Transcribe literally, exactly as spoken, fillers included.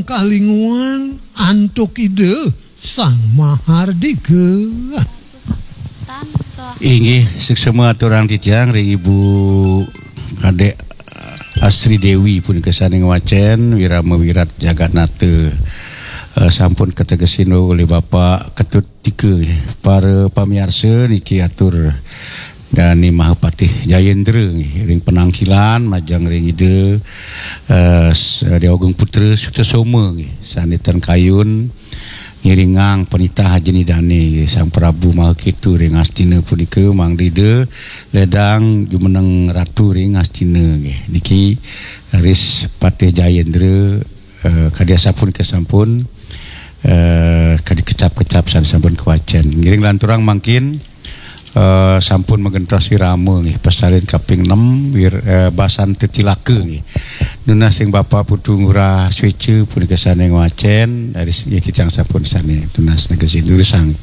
Kalinguan antuk Ida Sang Mahardika. Inggih, suksma aturang titiang ring Ibu Kadek Asri Dewi punika sane ngwacen Wirama Wirat Jagat Nata. Eh, sampun kategesin olih Bapak Ketut Tika, nggih. Para pamiarsa niki atur Dane Mahapatih Jayendra, nggih, ring penangkilan majeng ring Ida, eh, s-, Dewa Agung Putra Sutasoma, nggih, sane ten kayun ngiringang penitah ajin Idane, nggih, Sang Prabu Mahaketu ring Astina punika mangda Ida ledang jumeneng ratu ring Astina, nggih. Niki raris Patih Jayendra, eh, kadi asapunika sampun, eh, kadi kecap-kecap sane sampun kawacen. Ngiring lanturang mangkin, eh, sampun magentos wirama, nggih, pasalin kaping enam, wir-, eh, Basan Tetilaka, nggih. Nunas ring Bapak Putu Ngurah Sweca punika sane ngwacen, raris nggih titiang sampun sane tunas negesin durusang.